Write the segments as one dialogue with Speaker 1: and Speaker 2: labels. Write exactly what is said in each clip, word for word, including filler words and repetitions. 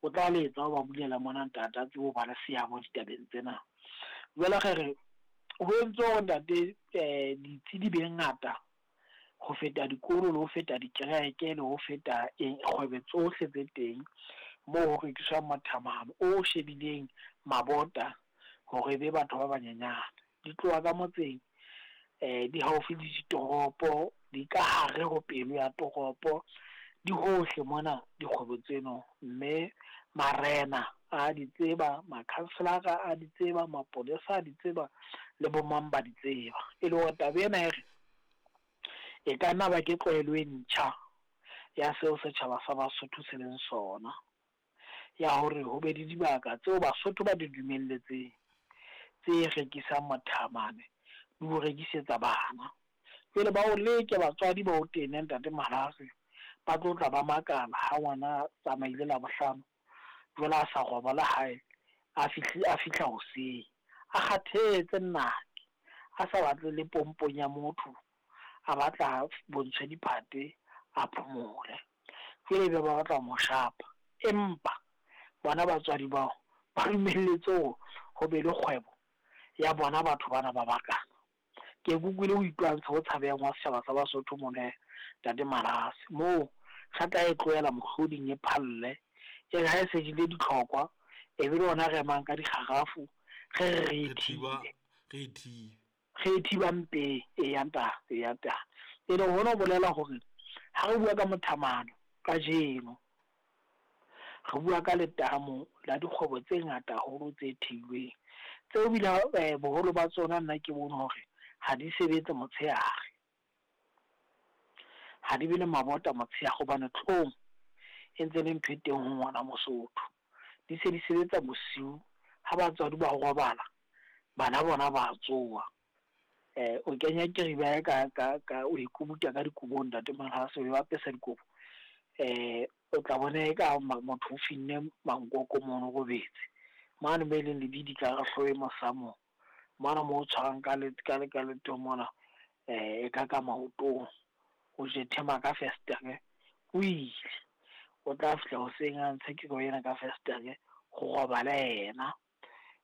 Speaker 1: O tla letsa o ba bulela mona ntate a tsebe ho ba le seabo ditabeng tsena. Jwale re re ho entse hore ntate um ditsi di be ngata ho feta dikolo, le ho feta dikereke, le ho feta eng kgwebo tsohle tse teng moo ho rekiswang mothamahane o shebileng mabota hore e be batho ba banyenyane. Di tloha ka motseng, um di haufi le ditoropo, di ka hare ho pelo ya toropo, di hohle mona dikgwebo tseno. Mme marena a di tseba, makhanselara a di tseba, mapolesa a di tseba, le bo mang ba di tseba. E le hore taba ena e re e ka nna ba ke tlwaelo e ntjha ya seo setjhaba sa Basotho se leng sona. Ya hore ho be le dibaka tseo Basotho ba di dumelletseng tse rekisang mothamane le ho rekisetsa bana. Jwale ba o leke batswadi ba o tene ntate Malhare, ba tlo tla ba makala ha ngwana a tsamaile Labohlano jwale a sa robala hae, a fihle a fihla hoseng a kgathetse nnake, a sa batle le pompong ya motho, a batla bontshwe diphate a phomole. Jwale ebe ba batla ho mo shapa, empa bona batswadi bao ba dumelletse hore ho be le kgwebo ya bona batho bana ba bakana. Ke ke utlwile ho itwantsha ho tshabehang wa setjhaba sa Basotho mona hee ntate Malase, moo re tla e tlohela mohloding e phalle. E re ha e se jele ditlhokwa, e be le hona re emang ka dikgarafu, re re re e
Speaker 2: Re thiba
Speaker 1: thibe.
Speaker 2: re e thibe.
Speaker 1: Re e thiba mpeng, eya ntate, eya ntate. E leng hona ho bolela hore ha re bua ka mothamano kajeno, re bua ka letamo la dikgwebo tse ngata haholo tse theilweng, tseo ebile eh, boholo ba tsona nna ke bone hore ha di sebetse motshehare. Ha di be le mabota motshehare hobane tlhong e ntse le ntho e teng ho ngwana Mosotho. Di se di sebetsa bosiu ha batswadi ba robala, bana bona ba tsoha. Eh o kenya keriba ka ka ka o e kubuta ka dikobong ntate Malhase, o e apesa dikobo. Eh o tla bona e ka motho o finne mankoko mono robetse. Mane mo e leng lebidi ka re hlooho e mosamo, mona mo o tshwarang ka le ka le ka leto mona, eh e ka ka maotong. O jethema ka festere, o ile. O tla fihla hoseng a ntshe keriba ena ka festere ho robale yena.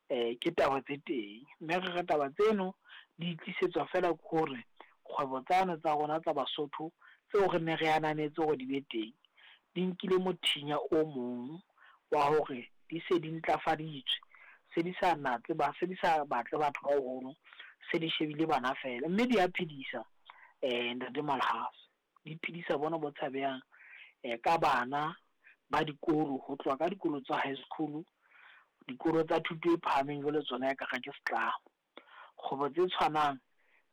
Speaker 1: Eh ke taba tse teng, mme re re taba tseno di tlisetswa fela ke hore kgwebo tsane tsa rona tsa Basotho tseo re ne re ananetse hore di be teng, di nkile mothinya o mong wa hore di se di ntlafaditswe. Se di sa natse ba se di sa batle batho ba baholo, se di shebile bana fela, mme di a phedisa eh ntate Malhase. Di phedisa bona bo tshabehang eh ka bana ba dikolo, ho tloha ka dikolo tsa high school, dikolo tsa thuto e phahameng jwale tsona e ka re ke setlamo. Kgwebo tse tshwanang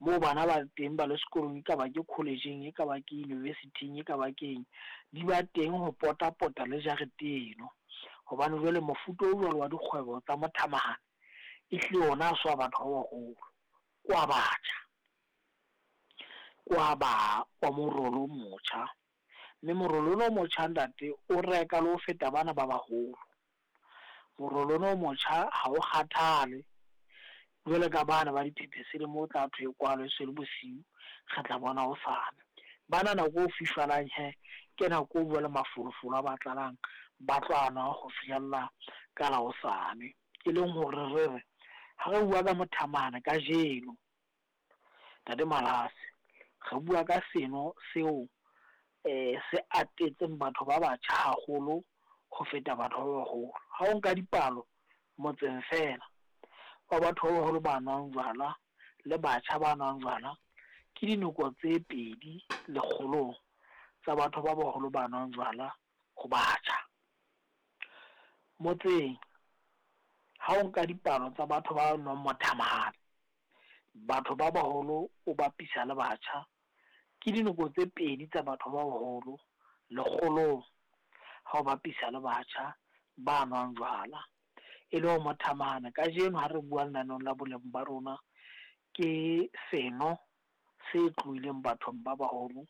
Speaker 1: moo bana ba teng ba le sekolong, e ka ba ke college-eng, e ka ba ke university-ing, e ka ba ke eng, di ba teng ho pota-pota le jarete eno. Hobane jwale mofuta o jwalo wa dikgwebo tsa mothamahane ehlile ona ha se wa batho ba baholo, ke wa batjha. Ke wa ba wa morolo o motjha, mme morolo ona o motjha ntate o reka le ho feta bana ba baholo. Morolo ona o motjha ha o kgathale jwalo ka bana ba diphephetso le moo o tla thwe e kwalwe e se le bosiu, re tla bona hosane. Bana nako o fifalang he, ke nako o jwale mafolofolo a ba tlalang, ba tlo a nwa ho fihlella ka la hosane. E leng hore re re ha re bua ka mothamane kajeno, ntate Malhase, re bua ka seno seo eh se atetseng batho ba batjha haholo ho feta batho ba baholo. Ha o nka dipalo motseng fela wa batho ba baholo ba nwang jwala le batjha ba nwang jwala, ke dinoko tse pedi lekgolong tsa batho ba baholo ba nwang jwala ho batjha. Motseng ha o nka dipalo tsa batho ba nwang mothamahane, batho ba baholo o bapisa le batjha, ke dinoko tse pedi tsa batho ba baholo lekgolong ha o bapisa le batjha ba nwang jwala. E le ho mothamahane kajeno ha re bua lenaneong la boleng ba rona, ke seno se tlohileng bathong ba baholo,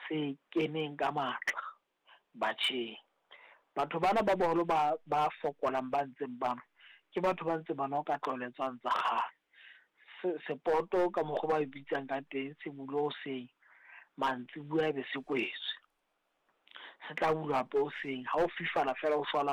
Speaker 1: se keneng ka matla batjheng. Batho bana ba baholo ba ba fokolang ba ntseng ba nwa, ke batho ba ntse ba nwa ka tlwaelo tsane tsa kgale. Se sepoto ka mokgwa ba e bitsang ka teng, se bulwe hoseng, mantsibuya e be se kwetswe. Se tla bulwa hape hoseng, ha o fifala fela o shwalane.